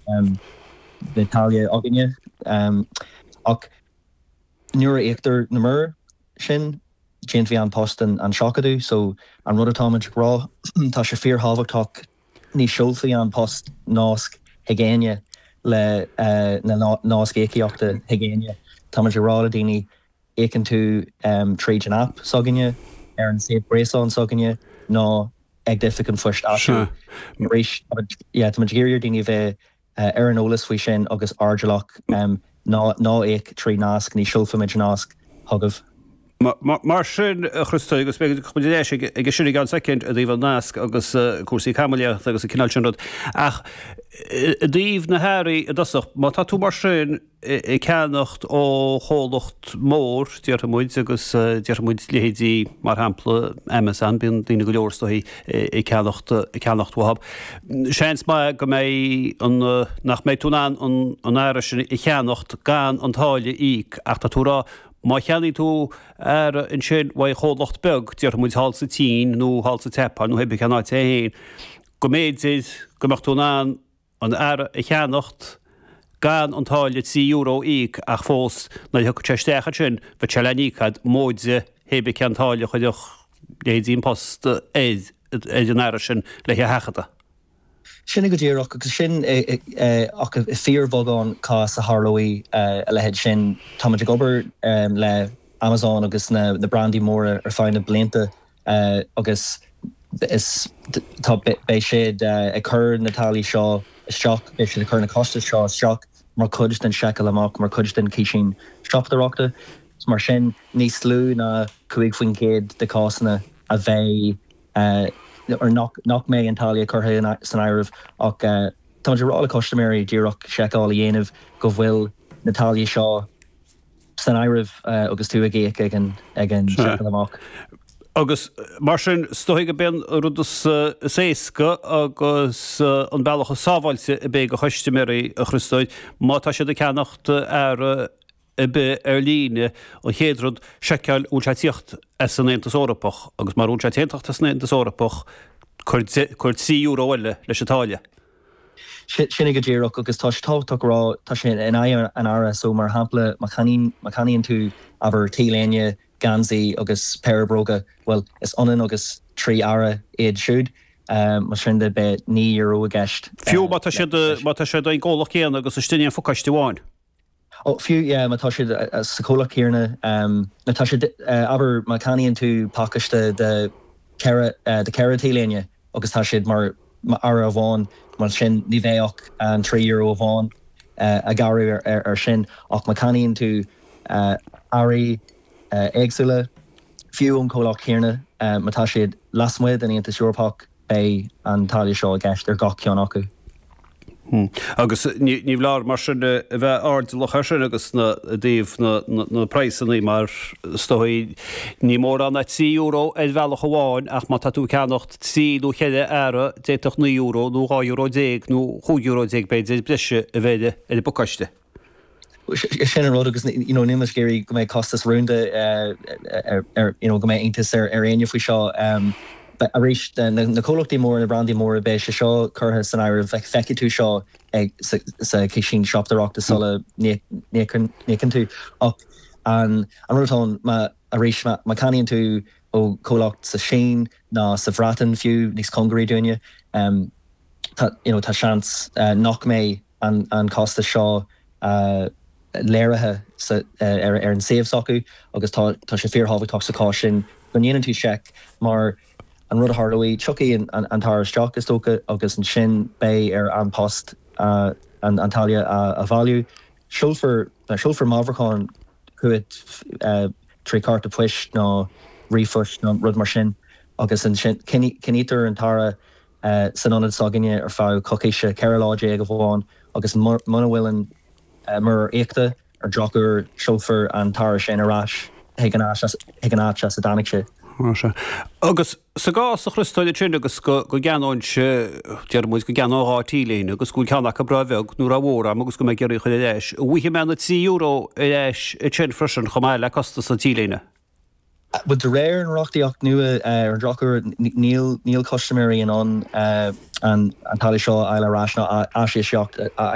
Beidh táille againne. Ach nuair a íoctar na muirir sin, déanfaidh An Post an seachadadh. So an rud atáimid ag rá, tá sé fíorthábhachtach, ní seolfaidh An Post nasc chuig éinne le na nasc íocaíochta chuig éinne. Táimid ag rá le daoine, íocann tú tríd an aip s'againne, ar an suíomh gréasáin s'againne nó ag d'oifig an phoist áitiúil. Arís, yeah, táimid ag iarraidh ar daoine a bheith ar an eolas faoi sin agus airdeallach, ná íoc trí nasc, ní seolfaimid nasc chugaibh. Mar sin, a Chriostóir, agus beidh muid ar ais aige sin i gceann soicind i dtaobh an nasc agus cúrsaí caimiléireachta agus an cineál sin rud. Ach i dtaobh na hearraí i dtosach, má tá tú mar sin ag ceannacht ó chomhlacht mór, déarfaidh muid, agus déarfaidh muid leithéidí, mar shampla, Amazon, bíonn daoine go leor is dóigh ag ceannacht, ag ceannacht uathu. Seans maith go mbeidh an, nach mbeidh tú in ann an, an earra sin a cheannacht gan an táille a íoc ach tá tú ag rá má cheannaíonn tú earra ansin uaidh chomhlacht beag, déarfaidh muid thall sa tSín nó thall sa tSeapáin nó pé bith cén áit é féin, go mb'fhéidir go mbeadh tú in ann an earra a cheannacht gan an táille €3 a íoc ach fós nuair a thiocfadh sé isteach ansin bheadh sé le n-íoc agat móide pé bith cén táille a chuirfeadh leithéidí An Post ar ar an earra sin le hé a sheachadadh. Sin é go díreach agus sin ach i fíorbheagán cás a tharlóidh a leithéid sin. Táimid ag obair le Amazon agus na brandaí móra ar feadh na blianta agus is tá beidh siad ag cur na táillí seo isteach, beidh siad ag cur na costais seo isteach mar chuid den seiceáil amach, mar chuid den chísín siopadóireachta. Mar sin, níos lú ná 5% de chásanna a bheidh or nach nach mbeidh an táille curtha san áireamh ach táimid ag rá le custaiméirí díreach seiceáil a dhéanamh go bhfuil na táillí seo san áireamh agus tú ag íoc ag an ag an seiceáil amach. Agus mar sin, is dóigh gurb é an rud is éasca agus an bealach is sábháilte a bheidh do chustaiméirí, a Chriostóir, má tá siad ag ceannacht earra ar bith ar líne, an chéad rud, seiceáil an bhfuil sé ag tíocht as an Aontas Eorpach agus mura bhfuil sé ag tíocht as an Aontas Eorpach, cuir €3 eile leis an táille. Sin é go díreach agus tá sé tábhachtach a rá, tá sé in aghaidh an earra so mar shampla má cheannaíonn, má cheannaíonn tú abair T-léine, geansaí agus péire bróga, bhuel is ionann agus 3 earra iad siúd, mar sin de beidh €9 i gceist. Fiú má tá siad, má tá siad ón gcomhlacht céanna agus istigh in aon phacáiste amháin. Ó, fiú, yeah, má tá siad sa chomhlacht céanna, nó tá siad, abair, má cheannaíonn tú pacáiste de cheithre, de cheithre T-léine agus tá siad mar earra amháin, mar sin ní bheidh ach an €3 amháin á ghearradh ar sin. Ach má cheannaíonn tú earraí éagsúla, fiú ón chomhlacht céanna, má tá siad lasmuigh den Aontas Eorpach, Beidh an táille seo i gceist ar gach ceann acu. Agus ní foláir mar sin a bheith airdeallach air sin agus na i dtaobh na na praghsanna mar is dóigh ní mórán ná €3 ar bhealach amháin ach má tá tú ag ceannacht trí nó cheithre earra d'fhéadfadh €9 nó €12 nó €15 b'fhéidir breise a bheith ar an bpacáiste. Sin an rud agus you know níl muid ag iarraidh go mbeidh costas rúnda ar you know go mbeidh iontas ar ar éinne faoi seo. Arís na comhlachtaí móra, na brandaí móra, beidh sé seo curtha san áireamh, feicfidh tú seo ag sa sa chísín siopadóireachta sula n-íocann tú. Ach an an rud atá ann má arís má má cheannaíonn tú ó chomhlacht sa Sín nó sa Bhreatain fiú níos cóngaraí dúinne tá you know tá seans nach mbeidh an costas seo léirithe ar an suíomh s'acu agus tá sé fíorthábhachtach sa chás sin go ndéanann tú seic mar an rud a tharlóidh, tiocfaidh an t-earra isteach is dócha agus ansin beidh ar An Post an táille a bhailiú. Seolfar seolfar meabhrúchán chugat trí chárta poist nó ríomhphost nó rud mar sin agus ansin coinnítear an t-earra san ionad s'againne ar feadh coicíse, 14 lá amháin, agus muna bhfuil an muirear íoctha, ar drochuair, seolfar an t-earra sin ar ais chuig an áit as a dtáinig sé. Sea. Agus sa gcás, a Chriostóir, ansin agus go gceannóinnse, déarfaidh muid go gceannóinn dhá T-léine agus go bhfuil ceann acu ró-bheag nó ró-mhór a'm agus go mbeidh ag iarraidh a chur ar ais, an bhfaighidh mé na €3 ar ais ansin freisin chomh maith le costas an T-léine? Bhuel, de réir an reachtaíocht nua, ar an drochuair, níl níl custaiméirí in ann an táille seo a fháil ar ais nó aisíocaíocht a.